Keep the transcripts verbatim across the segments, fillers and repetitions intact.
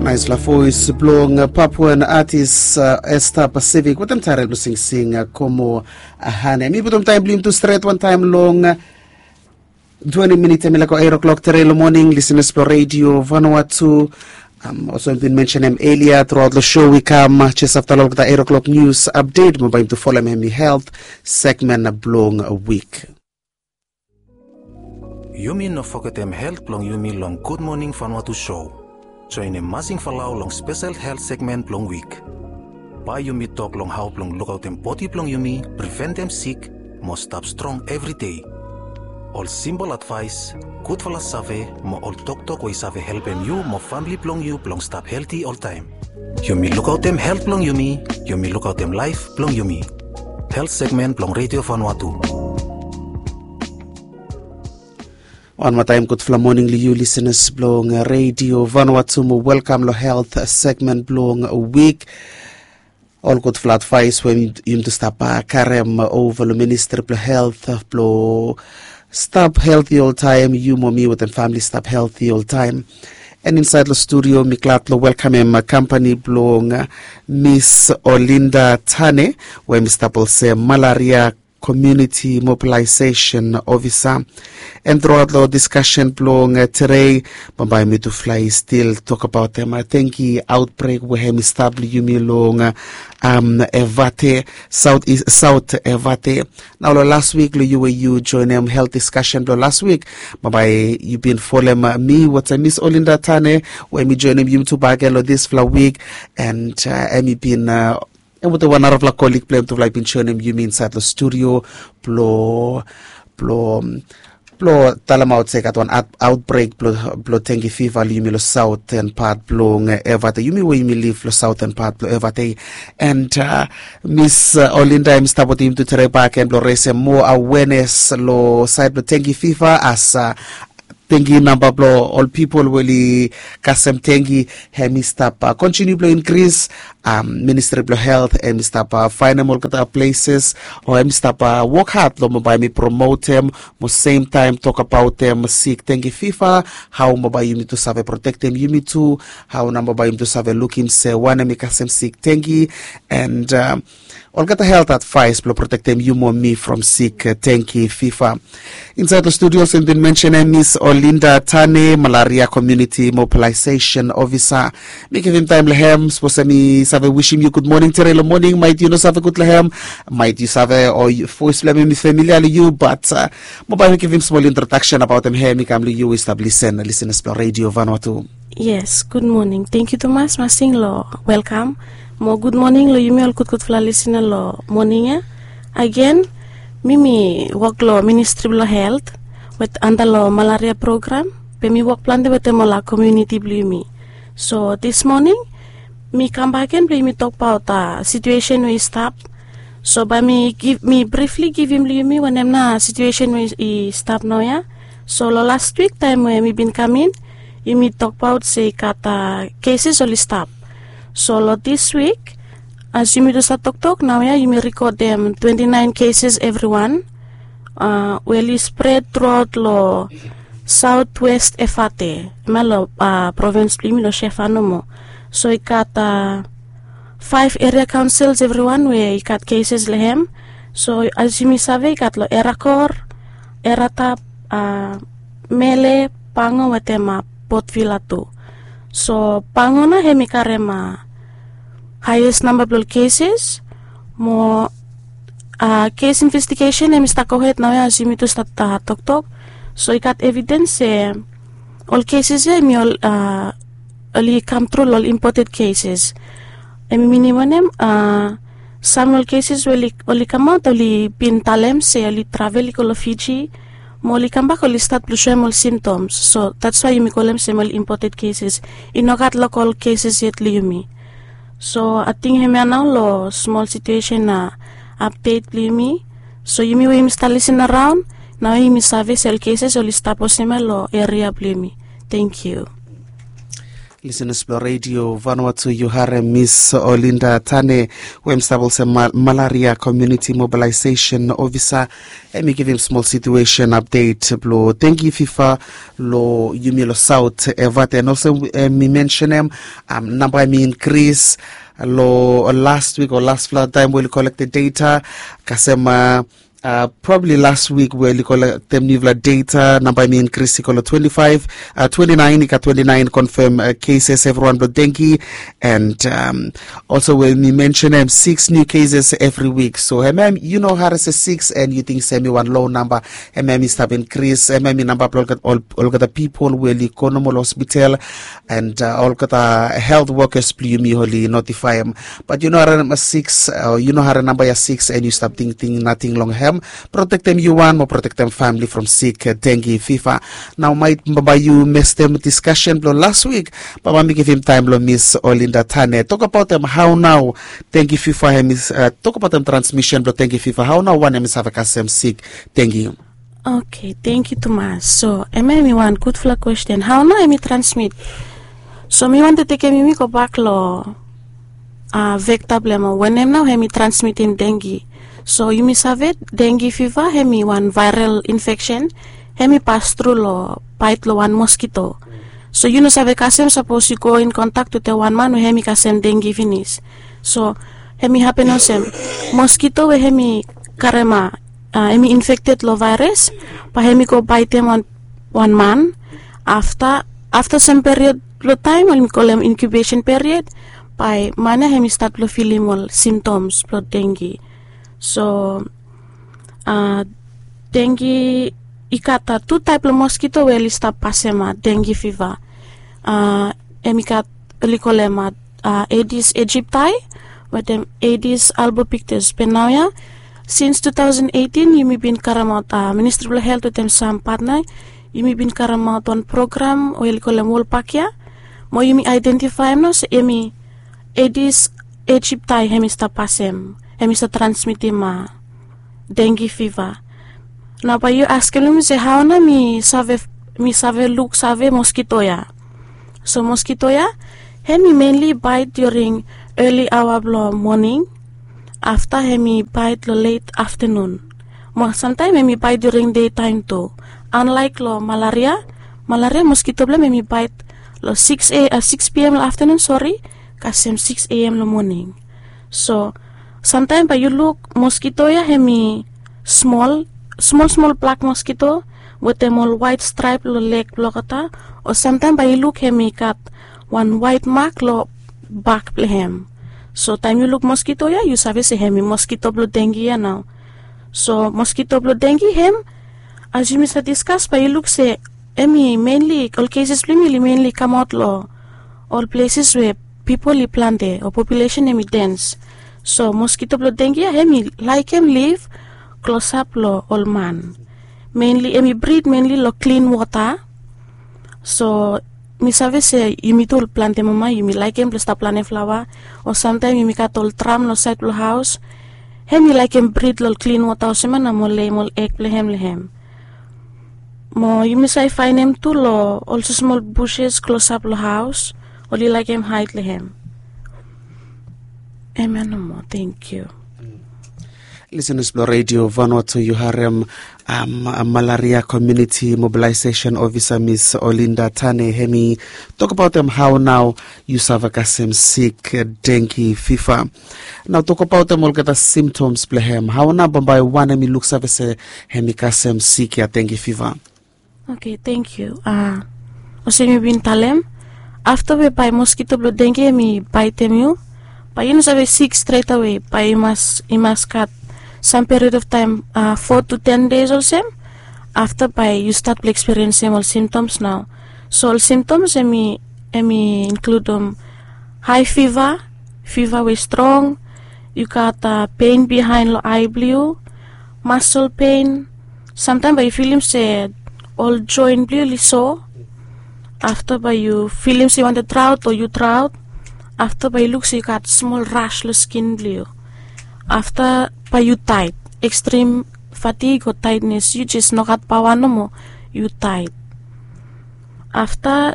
Naisfala voes blong Papuan atis Esta Pacific wetem taerel blong singsing Komo Hane. Mi putum taem blong yumi tu stret wantaem long twenti minit, em i laek go eit o'klok tere long moning, lisenas blong Redio Vanuatu. Olsem mi bin mensenem elia, truaot long show i kam jes afta long olgeta eit o'klok nius apdet, mo bae yumi tu folem hem i helt segmen blong wik. Yumi no fogetem helt blong yumi long Gud Moning Vanuatu show. Joenem Masing Falau long spesel helt segmen blong wik. Bae yumi tok long hao blong lukaotem bodi blong yumi, priventem sik, mo stap strong evri dei. Ol simpol advaes, gudfala save, mo ol toktok we i save helpem yu mo famle blong yu blong stap helti oltaem. Yumi lukaotem helt blong yumi, yumi lukaotem laef blong yumi. Helt segmen blong Redio Vanuatu. Wan moa taem gudfala moning long yu lisenas blong Redio Vanuatu mo welkam long helt segmen blong wik. Ol gudfala advaes we yumi tu stap karem ova long ministri blong helt blong stap helti oltaem, yu mo mi wetem famle stap helti oltaem. An insaed long studio mi glad long welkamem kampani blong Miss Olinda Tane, we mi stap olsem malaria community mobilisation officer. An truaot long diskasen blong tere, bambae mitufala i stil tokbaotem tengi aotbrek we hem i stap long yumi long Evate, Saot Evate. Nao long las wik long yu we yu joenem helt diskasen blong las wik, bambae yu bin folem mi wetem Miss Olinda Tane we hem i joenem yumi tu bakegen long disfala wik. An hem i bin hem wetem wan narafala kolig blong hem tufala i bin joenem yumi insaed long studio blong blong blong talemaot se i gat wan aotbrek blong tengi fiva long yumi long saoten pat blong Evate, yumi we yumi liv long saoten pat blong Evate. An Miss Olinda hem i stap wetem yumi tu tere bakegen blong resem moa awenes long saed blong tengi fiva as tengi namba blong ol pipol we oli kasem tengi hem i stap kontiniu blong inkris. Ministri blong helt hem i stap faenem olgeta pleses o hem i stap wok had long bambae hem i promotem mo semtaem tokbaotem sik tengi fiva, hao bambae yumi tu save protektem yumi tu, hao nao bambae yumi tu save lukim se wanem i kasem sik tengi, an olgeta helt advaes blong protektem yu mo mi from sik tengi fiva. Insaed long studio olsem mi bin mensenem Miss Olinda Tane, malaria community mobilisation officer. Mi givim taem long hem sapos hem i save wisim yu gud moning tere long moning, maet yu no save gud long hem, maet yu save o voes blong hem i familia long yu, bat bambae mi givim smol introdaksen abaotem hem i kam long yu we i stap lisen, lisenas blong Redio Vanuatu. Yes, gud moning. Tengiu tumas Masing long welkam. Mo gud moning long yumi ol gudgudfala lisena long moning ya. Agen, mi mi wok long ministri blong helt wet anda long malaria program, be mi wok plante wetem ol komuniti blong yumi. So dis moning mi kambak gen blong yumi tokbaot situesen we i stap. So bae mi brifli givim long yumi wanem nao situesen we i stap naoia. So long las wik taem we mi bin kam in, yumi tokbaot se i gat keses oli stap. So long dis wik, as yumi tu save toktok naoia, yumi rikodem twenti naen keses evriwan we oli spred truaot long saotwes Evate, hemia long provins blong yumi long Shefa nomo. So i gat faef eria kaonsils evriwan we i gat keses long hem. So as yumi save i gat long Erakor, Eratap, Mele, Pango wetem Port Vila tu. So Pango nao hem i karem haes namba blong ol keses. Mo kes investigesen hem i stap gohed naoia as yumi tu stap toktok. So i gat evidens se ol keses ya hem i ol oli kam tru long ol impoted keses. Hem i minim wanem? Sam long ol keses we oli kamaot oli bin talem se oli travel i go long Fiji, mo oli kambak oli stat blong soem ol simtoms. So datswae yumi kolem se hem ol impoted keses. I no gat lokol keses yet long yumi. So ating hemia nao long smol situesen apdet blong yumi. So yumi we yumi stap lisin araon, naoia yumi save se ol keses oli stap olsem ya long eria blong yumi. Tengiu. Lisenas blong redio Vanuatu, yu harem Miss Olinda Tane, we hem stap olsem malaria community mobilisation ofisa. Hem i givim smol situation update blong dengi fifa long yumi long saut evat, and olsem hem i mensenem namba hem i inkris long last wik o lastfala taem we oli kolektem data kasem probably last wik we oli kolektem niufala data namba hem i inkris i go long twenti faef, twenti naen i gat twenti naen konfem keses evriwan blong dengi. And olso we mi mensenem siks niu keses evri wik, so hem hem yu no hari se siks and yu ting se hem i wan low namba. Hem hem i stap inkris, hem hem i namba blong olgeta pipol we oli go nomo long hospital and olgeta helt wokas blong yumi oli notifaem. Bat yu no hari namba siks, yu no hari namba ya siks and yu stap tingting nating long hem. Protektem yu wan mo protektem famili from sik dengi fifa. Nao maet bambae yu mestem diskasen blong las wik, bambae mi givim taem long Miss Olinda Tane tokabaotem hao nao dengi fifa hem i tokabaotem transmisen blong dengi fifa, hao nao wan hem i save kasem sik dengi. Oke, tengiu tumas. So hem hem i wan gudfala kwesten, hao nao hem i transmit? So mi wantem tekem yumi gobak long vekta blong hem o wanem nao hem i transmitim dengi. So yumi save dengi fiva hem i wan vaerel infeksen, hem i pas tru long baet long wan moskito. So yu no save kasem sapos yu go in kontak wetem wan man we hem i kasem dengi finis. So hem i hapen olsem, moskito we hem i karema hem i infekted long vaeras, bae hem i go baetem wan man. Afta afta sem period blong taem we yumi kolem inkubesen period, bae man ya hem i stat blong filim ol simtoms blong dengi. So dengi i gat tu taep blong moskito we oli stap pasem dengi fiva. Hem i gat, oli kolem edis ejiptai wetem edis albopiktes. Be naoia sins tu taosen eitin yumi bin karemaot, ministri blong helt wetem sam patna, yumi bin karemaot wan program we oli kolem wolpak ya, mo yumi aedentifaem nao se hem i edis ejiptai hem i stap pasem, hem i stap transmitim dengi fiva. Nao bae yu askem long mi se hao nao mi save luksave moskito ya? So moskito ya hem i menli baet during eli aoa blong moning, afta hem i baet long let aftanun, mo samtaem hem i baet during dei taem tu. Anlaek long malaria, malaria moskito blong hem hem i baet long siks pm long aftanun, sori, kasem siks am long moning. So samtaem bae yu luk moskito ya hem i smol, smol smol blak moskito wetem ol waet straep long leg blong olgeta. O samtaem bae yu luk hem i gat wan waet mak long bak blong hem. So taem yu luk moskito ya yu save se hem i moskito blong dengi ya nao. So moskito blong dengi hem, as yumi save diskas bae yu luk se hem i menli, ol keses blong hem oli menli kamaot long ol pleses we pipol i plante o populesen hem i dens. So moskito blong dengi ya hem i laekem liv klosap long ol man. Menli hem i brid menli long klin wota. So mi save se yumi tu ol plante mama yumi laekem blong stap planem flaoa, o samtaem yumi gat ol dram long saed blong haos. Hem i laekem brid long ol klin wota olsem ya nao mo leim ol eg blong hem long hem. Mo yumi save faenem tu long ol smosmol buses klosap long haos, oli laekem haed long hem. Hem ya nomo, tengiu. Lisenas blong redio Vanuatu, yu harem malaria community mobilisation ofisa Miss Olinda Tane hem i tokabaotem hao nao yu save kasem sik dengi fifa. Nao tokabaotem olgeta simtoms blong hem, hao nao bambae wan hem i luksave se hem i kasem sik ya dengi fiva? Oke, tengiu. Olsem yu bin talem, afta we bae moskito blong dengi hem i baetem yu, bae yu no save sik stretawe, bae i mas gat sam period of taem, fo tu ten des olsem, afta bae yu stat blong ekspiriensim ol simtoms nao. So ol simtoms hem i inkludim hae fiva, fiva we strong, yu gat pen bihaen long ae blong yu, masol pen, samtaem bae yu filim se ol joen blong yu oli so. Afta bae yu filim se yu wantem draot o yu draot. Afta bae yu luk se yu gat smol ras long skin blong yu. Afta bae yu taet, ekstrim fatig o taetnes, yu jes no gat paoa nomo, yu taet. Afta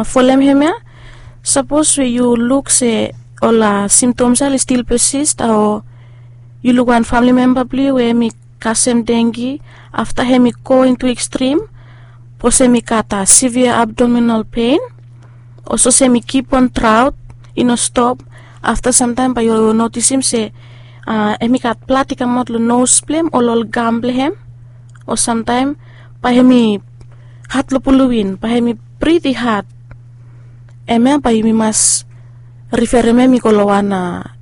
folem hem ya, Sapos we yu luk se ol simtoms ya oli stil pesist, o yu luk wan famili memba blong yu we hem i kasem dengi, afta hem i go intu ekstrim, sapos hem i gat sevia abdominal pen, o sapos hem i kipon draot i no stop, afta samtaem bae yu notisim se hem i gat blad i kamaot long nos blong hem o long gam blong hem, o samtaem bae hem i had long pulum in, bae hem i bridi had. Hemia bae yumi mas riferem hem i go long wan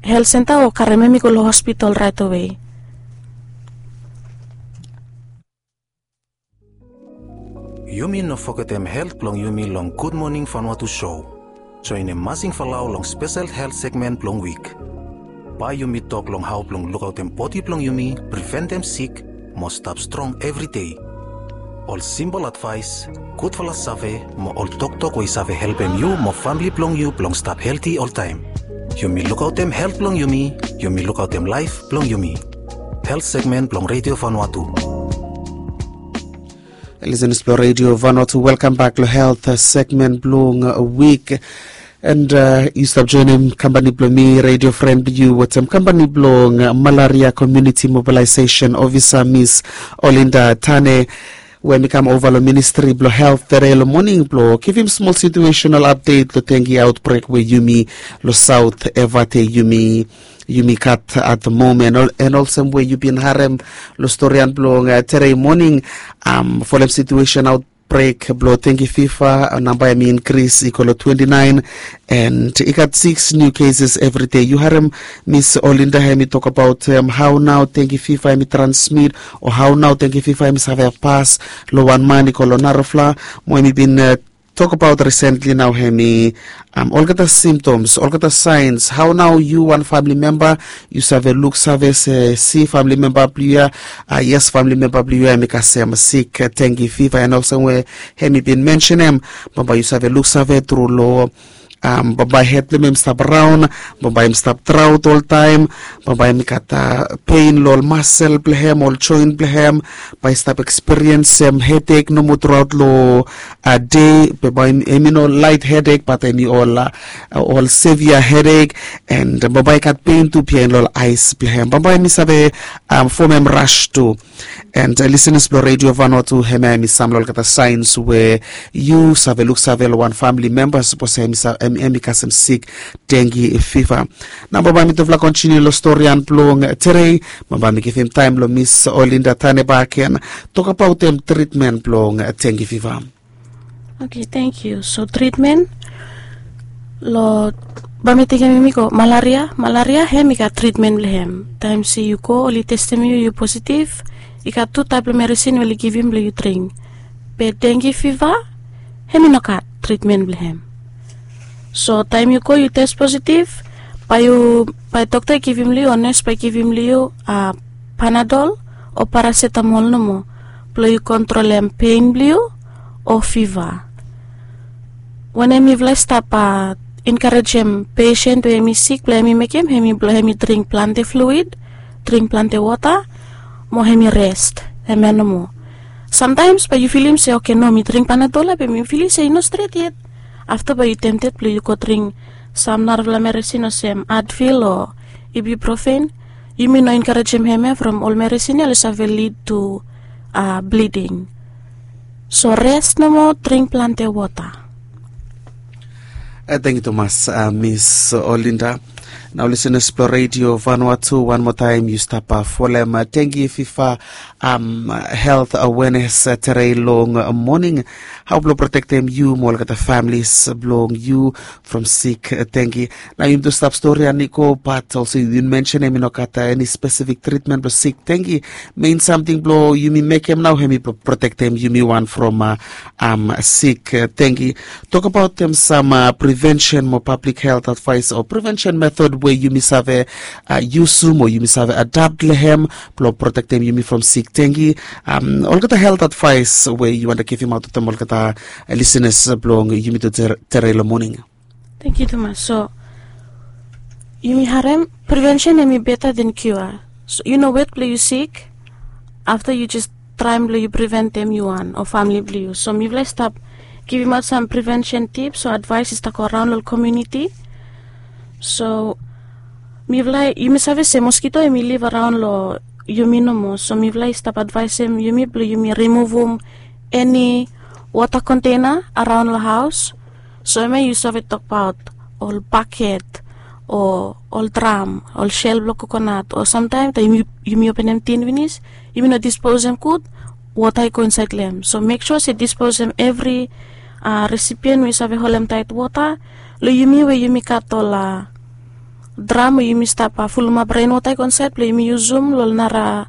helt senta o karem hem i go long hospital raet awe. Yumi no fogetem helt blong yumi long Gud Moning Vanuatu show. Joenem Masing Falau long spesel helt segmen blong wik. Bae yumi tok long hao blong lukaotem bodi blong yumi, priventem sik, mo stap strong evri dei. Ol simpol advaes, gudfala save, mo ol toktok we i save helpem yu mo famili blong yu blong stap helti oltaem. Yumi lukaotem helt blong yumi, yumi lukaotem laef blong yumi. Helt segmen blong Redio Vanuatu. Lisenas blong Redio Vanuatu, welkam bak long helt segmen blong wik. And yu stap joenem kampani blong mi, redio fren blong yu, wetem kampani blong Malaria Community Mobilization Officer, Miss Olinda Tane, we hem i kam ova long Ministri blong Helt tere long moning blong givim smol situational apdet long dengi aotbrek we yumi long Saot Evate yumi yumi gat at the moment. Ol- and olsem we yu bin harem long storian blong tere moning, folem situesen aotbrek blong dengi fiva, namba hem i inkris i go long twenti naen, and i gat siks niu keses evri dei. Yu harem Miss Olinda hem i tokbaot hao nao dengi fiva hem i transmit, o hao nao dengi fiva hem i save pas long wan man i go long narafala, mo hem i bin tokbaot risentli nao hem i olgeta simtoms, olgeta saens, hao nao yu wan famili memba yu save luksave se si famili memba blong yu ya, yes, famili memba blong yu ya hem i kasem sik dengi fiva, and olsem we hem i bin mensenem, bambae yu save luksave tru long bambae hed blong hem hem i stap raon, bambae hem i stap draot oltaem, bambae hem i gat pen long ol masel blong hem, ol joen blong hem, bae i stap ekspiriensem hedek nomo truaot long dei, be bae hem i no laet hedek bat hem i ol ol sevia hedek, and bambae i gat pen tu biaen long ol aes blong hem, bambae hem i save fomem ras tu. And lisenas blong Redio Vanuatu, hemia hem i sam long olgeta saens we yu save luksave long wan famili memba sapos hem i kasem sik dengi fiva. Nao bambae mitufala kontiniu long storian blong tere, bambae mi givim taem long Miss Olinda Tane bakegen tokbaotem tritmen blong dengi fiva. Oke, tangkiu. So tritmen, long, bae mi tekem yumi go malaria. Malaria hem i gat tritmen blong hem. Taem se yu go oli testem yu, yu positiv, i gat tu taep blong meresin we oli givim blong yu dring. Be dengi fiva hem i no gat tritmen blong hem. So taem yu go yu tes positiv, bae yu, bae dokta i givim long yu o nes bae i givim long yu Panadol o parasetamol nomo blong yu kontrolem pen blong yu o fiva. Wanem mifala i stap enkarejem pesen we hem i sik blong hem i mekem hem i blong hem i dring plante fluid, dring plante wota, mo hem i res. Hemia nomo. Samtaems bae yu filim se oke, no, mi dring Panadol ya be mi filim se i no stret yet. Afta bae yu temted blong yu go dring sam narafala meresin olsem Advil o ibuprofen. Yumi no enkarejem hemia from ol meresin ya oli save lid tu bliding. So res nomo, dring plante wota. Tangkiu tumas Miss Olinda. Nao lisenas blong Redio Vanuatu, wan moa taem yu stap folem dengi fiva helt awenes tere long moning, hao blong protektem yu mo olgeta familis blong yu from sik dengi. Nao yumi tu stap storian i go, bat olsem yu bin mensenem i no gat eni spesifik tritmen blong sik dengi. Mein samting blong yumi mekem nao hem i protektem yumi wan from sik dengi. Tokbaotem sam privensen mo pablik helt advaes o privensen metod we yumi save yusum o yumi save adapt long hem blong protektem yumi from sik dengi. Olgeta helt advaes we yu wantem givimaot wetem olgeta lisenas blong yumi tu tere long moning. Tangkiu tumas. So yumi harem, privensen hem i beta den kiua. So yu no wet blong yu sik, afta yu jes traem blong yu priventem yu wan o famili blong yu. So mifala i stap givim aut sam prevention tips o advaes i stap go araon long komuniti. So mifala yumi save se moskito yumi liv araon long yumi nomo, so mifala i stap advaesem yumi blong yumi rimuvum eni wota konteina araon long haos. So em ya yu save tokbaot ol baket o ol dram, ol sel blong kokonat, o samtaem taem yumi openem tin finis, yumi no disposem gud, wota i go insaed long em. So mek sua se disposem evri resipien we yu save holem taet wota long yumi we yumi gat ol dram we yumi stap fulumap renwota i go insaed blong yumi yusum long nara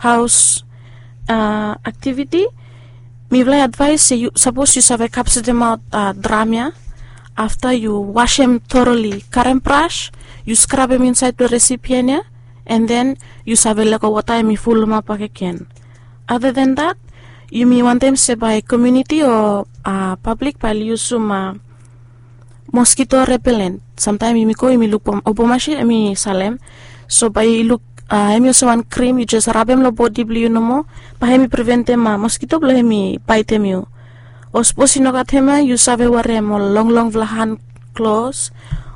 haos aktiviti. Mifala i advaes se sapos yu save kapsetemaot dram ya, afta yu wasem toroli, karem bras, yu skrabem insaed long resipien ya, an den yu save lego wota em i fulumap bakegen. Other than that, yumi wantem se bae komuniti o pablik bae oli yusum moskito repelen. Samtaem yumi go yumi luk obo masin em i salem. So bae i luk em i olsem wan krim yu jes rabem long bodi blong yu nomo, bae em i preventem moskito blong em i baetem yu. O sapos i no gat hemia, yu save werem ol longlongfala han klos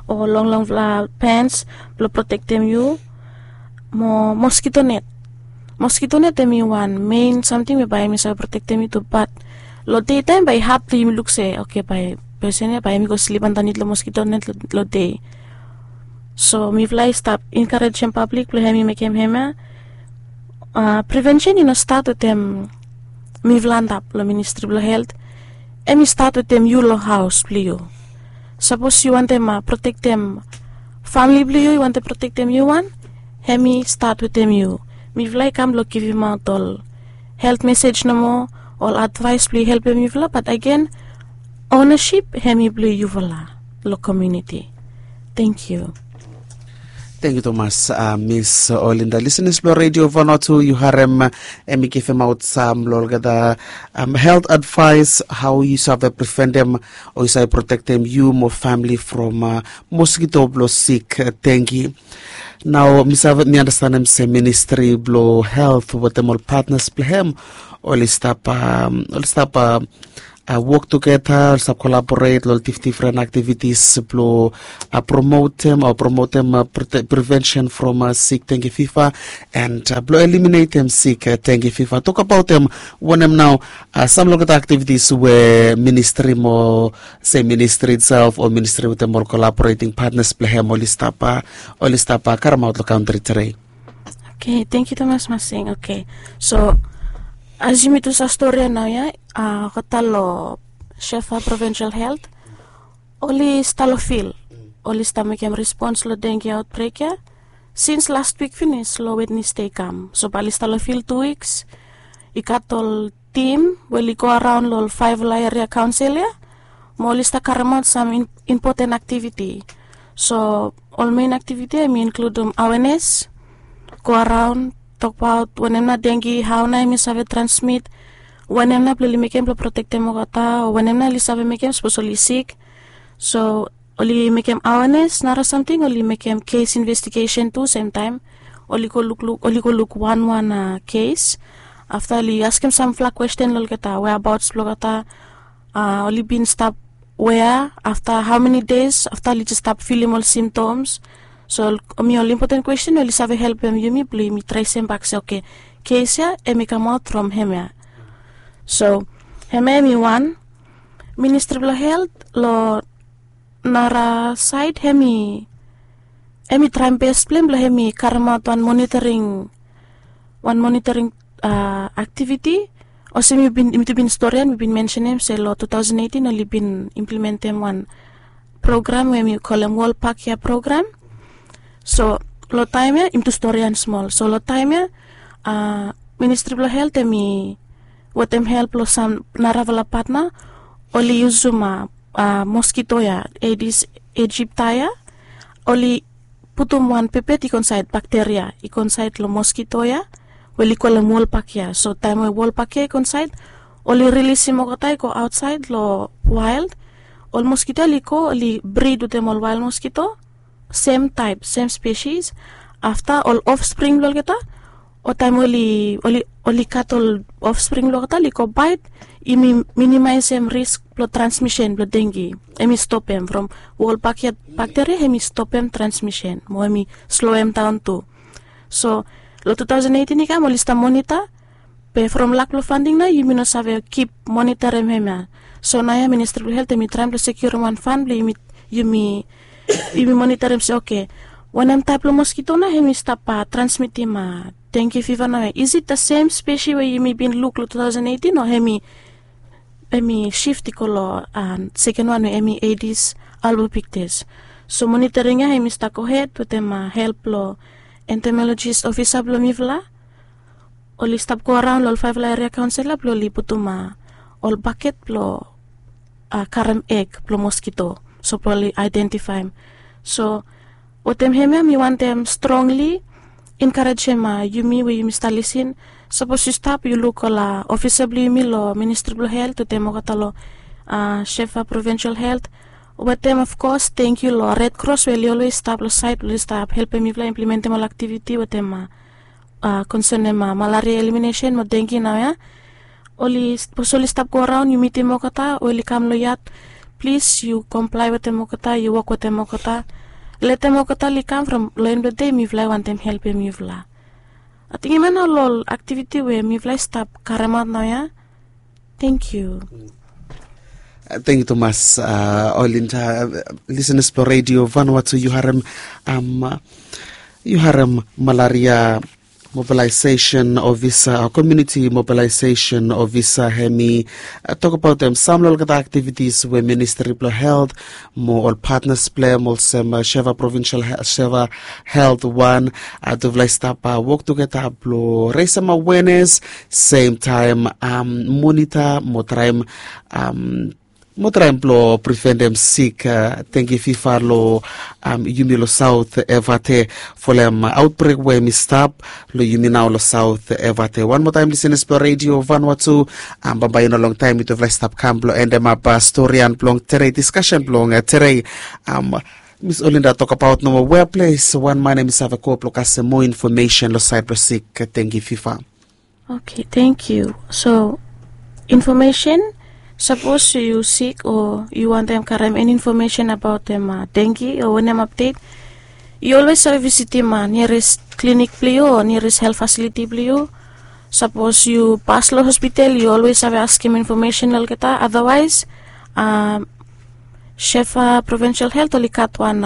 o longlongfala pens blong protektem yu. Mo moskito net, moskito net em i wan mein samting we bae em i save protektem yu tu, bat long dei taem bae i had blong yumi luk se oke, bae pesen ya bae em i go slip andanit long moskito net long dei. So mifala i stap enkarejem pablik blong em i mekem hemia. Prevensen i no stat wetem mifala antap long ministri blong helt. Em i stat wetem yu long haos blong yu. Sapos yu wantem protektem famili blong yu, yu wantem protektem yu wan, em i stat wetem yu. Mifala i kam blong givimaot ol helt mesej nomo, ol advaes blong i helpem yufala, bat agen, onesip em i blong yufala long komuniti. Tengkiu. Tengkiu tumas, Miss Olinda. Lisenas blong redio Vanuatu, yu harem em i givimaot sam long olgeta helt advaes hao yu save preventem o yu save protektem yu mo famili from moskito blong sik dengki. Nao mi save, mi anastenem se ministri blong helt wetem ol patnas blong hem oli stap, oli stap wok tugeta, oli stap kolaboret long ol difdifren aktivitis blong promotem o promotem prevensen from sik dengki fiva, an blong eliminetem sik dengki fiva. Tokbaotem wanem nao sam long olgeta aktivitis we ministri mo se ministri itself o ministri wetem ol kolaboreting patnas blong hem oli stap, oli stap karemaot long kantri tede. Oke, tengkiu tumas Masing. Oke, so as yumi tu save stori ya nao ya, olgeta long Shefa Provincial Helt oli stap long fil, oli stap mekem respons long dengki aotbrek ya sins las wik finis long Wednesde i kam. So bae oli stap long fil tu wiks. I gat ol tim we oli go araon long ol faevfala eria kaonsel ya, mo oli stap karemaot sam impoten aktiviti. So ol mein aktiviti ya em i inkludem awenes, go araon, tokbaot wanem nao dengki, hao nao em i save transmit, wanem nao blong oli mekem blong protektem olgeta, o wanem nao oli save mekem sapos oli sik. So oli mekem awenes, nara samting oli mekem kes investigesen tu semtaem. Oli go lukluk, oli go luk wanwan kes. Afta oli askem samfala kwesten long olgeta, weabaots blong olgeta, oli bin stap wea, afta hao meni des afta oli jes stap filim ol simtoms. So em i ol impoten kwesten we oli save helpem yumi blong yumi tresem bak se oke, kes ya em i kamaot from hemia. So hemia em i wan. Ministri blong helt long nara saed em i, em i traem bes blong hem blong hem i karemaot wan monitoring, wan monitoring aktiviti. Olsem yumi tu bin storian, mi bin mensenem se long tu taosen eitin oli bin implementem wan program we mi kolem Wol Pak ya program. So long taem ya, yumi tu storian smol. So long taem ya, ministri blong helt em i wetem help long sam narafala patna, oli yusum moskito ya, Aedes aegypti ya. Oli putum wan pepet i go insaed, bakteria i go insaed long moskito ya we oli kolem Wol Pak ya. So taem we Wol Pak ya i go insaed, oli rilisim olgeta i go aotsaed long wael. Ol moskito ya oli go, oli brid wetem ol wael moskito, sem taep, sem spesis. Afta ol ofspring blong olgeta, o taem oli, oli oli gat ol ofspring blong olgeta oli go bait, yumi minimaesem risk blong transmisen blong dengi. Hemi stopem from we ol bakteriaria hemi stopem transmisen mo hemi sloem daon tu. So long two thousand eighteen i kam oli stap monita, be from lak blong fanding nao yumi no save kip monitarim hemia. So naoia ministri blong helt hemi traem blong sekiurim wan fan blong yumi yumi yumi monitarim se oke, wanem taep blong moskito nao hemi stap transmitim dengi fiva naoia? Is it the same spesi we yumi bin luk long two thousand eighteen o hemi hemi sif i go long seken wan we hemi aedis albopictus? So monitaring ya hemi stap gohed wetem help blong entomologis ofisa blong mifala. Oli stap go araon long ol faefala eria kaonsela blong oli putum ol baket blong karem eg blong moskito, so blong oli aedentifaem. So wetem hemia mi wantem strongli enkarejem yumi we yumi stap lisin. Sapos yu stap yu luk ol ofisa blong yumi long ministri blong helt wetem olgeta long shefa provinsel helt, wetem ofkos tengkiu long red kros we oli olwes stap long saed blong oli stap helpem mifala implementem ol aktiviti wetem konsenem malaria eliminesen mo dengi naoia. Oli sapos oli stap go araon yu mitim olgeta we oli kam long yat, plis yu komplae wetem olgeta, yu wok wetem olgeta. Letem olgeta oli kam from long en blong dei mifala i wantem helpem yufala. Ating hemia nao ol aktiviti we mifala i stap karemaot naoia. Tengkiu. Tengkiu tumas. Olinda, lisenas blong redio vanua tu, yu harem yu harem malaria mobilaesesen ofisa o komiuniti mobilaesesen ofisa hemi tokbaotem sam long olgeta aktivitis we ministri blong helt mo ol patnas blong hem olsem sheva provinsel sheva helt wan, tufala i stap wok tugeta blong resem awenes, semtaem monita mo traem mo traem blong priventem sik, dengi fiva long yumi long saot evate folem aotbrek we hemi stap long yumi nao long saot evate. Wan moa taem lisenas blong redio vanua tu, bambae i no longtaem yutufala i stap kam blong endemap storian blong tere, diskasen blong tere. Mis Olinda tokbaot nomo wea ples wan man hemi save go blong kasem moa infomesen long saed blong sik dengi fiva. Oke, tengkiu. So infomesen, sapos yu sik o yu wantem karem eni infomesen abaotem dengi o wanem apdet, yu olwes save visitim niares klinik blong yu o niares helt fasiliti blong yu. Sapos yu pas long hospital yu olwes save askem infomesen long olgeta. Adawaes shefa provinsel helt oli gat wan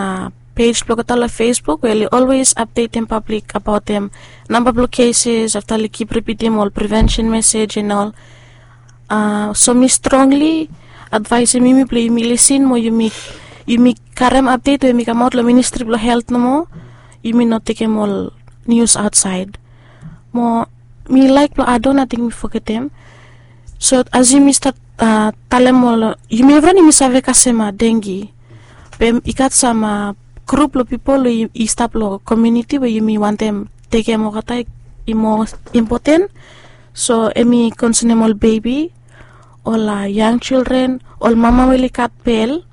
pej blong olgeta long fesbuk we oli olwes apdetem pablik abaotem namba blong keses afta oli kip ripitim ol privensen mesej en ol. So mi strongli advaesem yumi blong yumi lisin mo yumi karem apdet we hemi kamaot long ministri blong helt nomo. Yumi no tekem ol nius aotsaed. Mo mi laek blong adon ating mi fogetem. So as yumi stap talem ol yumi evriwan yumi save kasem dengi. Be i gat sam grup blong pipol we i stap long komiuniti we yumi wantem tekem olgeta i moa impoten. So hemi konsenem ol bebi, ol yang jildren, ol mama we oli gat bel,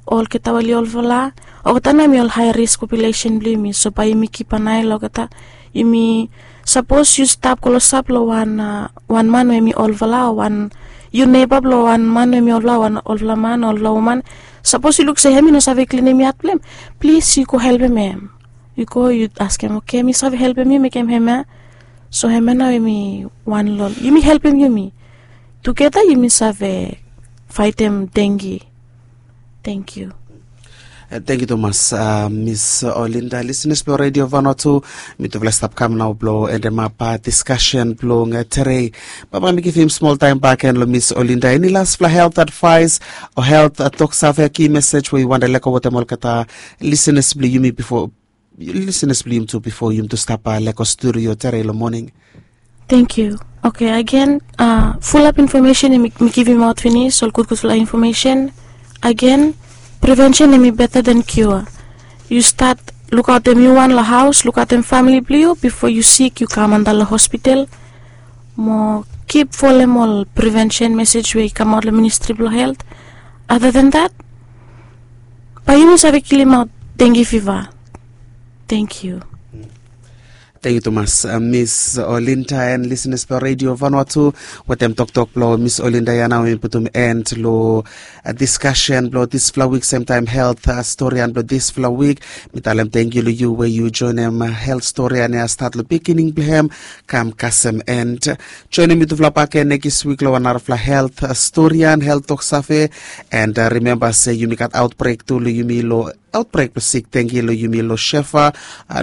olgeta we oli olfala. Olgeta nao hemi ol hae risk populesen blong yumi. So bae yumi kip an ae long olgeta. Yumi sapos yu stap klosap long wan wan man we hemi olfala o wan yu neba blong wan man we hemi olfala o wan olfala man o olfala woman, sapos yu luk se hemi no save klinim yat blong hem, plis yu go helpem hem. Yu go yu askem, oke, mi save helpem yu mekem hemia. So hemia nao hemi wan long yumi helpem yumi. Tugeta yumi save faetem dengi. Tengkiu. Tengkiu tumas mis Olinda. Lisenas blong redio vanua tu, mitufala i stap kam nao blong endemap diskasen blong tere. Bambae mi givim smol taem bak gen long mis Olinda. Eni lasfala helt advaes o helt toksave, ki mesej we yu wantem lego wetem olgeta lisenas blong yumi bifo lisenas blong yumi tu bifo yumi tu stap lego studio tere long moning? Tengkiu. Oke, agen, fulap infomesen mi givimaot finis, ol gudgudfala infomesen. Agen, privensen hemi beta dan kiua. Yu stat lukaotem yu wan long haos, lukaotem famili blong yu bifo yu sik yu kam antap long hospital. Mo kip folem ol privensen mesej we i kamaot long ministri blong helt. Other than that, bae yumi save kilimaot dengi fiva. Tengkiu. Tangkiu tumas Miss Olinda and listeners blong Radio Vanuatu. Wetem toktok blong Miss Olinda ya nao mi putum end long diskasen blong disfala wik, semtaem helt storian blong disfala wik. Mi talem tangkiu long yu we yu joenem helt storian ya stat long beginning blong hem kam kasem end. Joenem yutufala bak gen nekis wik long wan narafala helt storian, helt toksave. And rimemba se yumi gat aotbrek tu long yumi long aotbrek blong sik dengki long yumi long Shefa,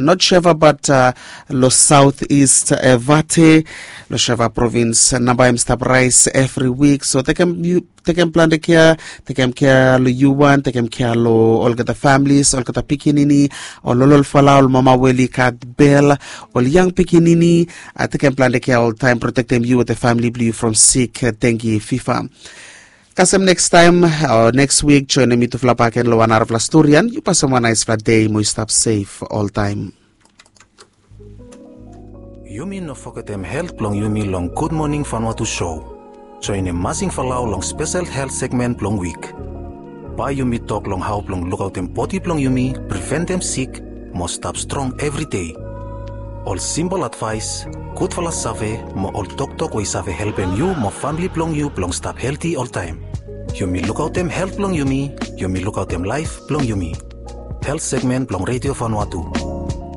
not Shefa bat long South East Vate, long Shefa provins. Namba hem i stap raes evri wik, so tekem yu tekem plante kea, tekem kea long yu wan, tekem kea long olgeta familis, olgeta pikinini, ol ololfala, ol mama we oli gat bel, ol yang pikinini. Tekem plante kea oltaem, protektem yu wetem famili blong yu from sik dengki fifa. Kasem nekstaem o neks wik, joenem yutufala bak gen long wan narafala storian. Yu pasem wan naesfala dei mo yu stap sef oltaem. Yumi no fogetem helt blong yumi long Gud Moning Vanuatu sou. Joenem Masing Falau long spesel helt segmen blong wik. Bae yumi tok long hao blong lukaotem bodi blong yumi, priventem sik, mo stap strong evri dei. Ol simpol advaes, gudfala save mo ol toktok we i save helpem yu mo famili blong yu blong stap helti oltaem. Yumi lukaotem helt blong yumi, yumi lukaotem laef blong yumi. Helt segmen blong Radio Vanuatu.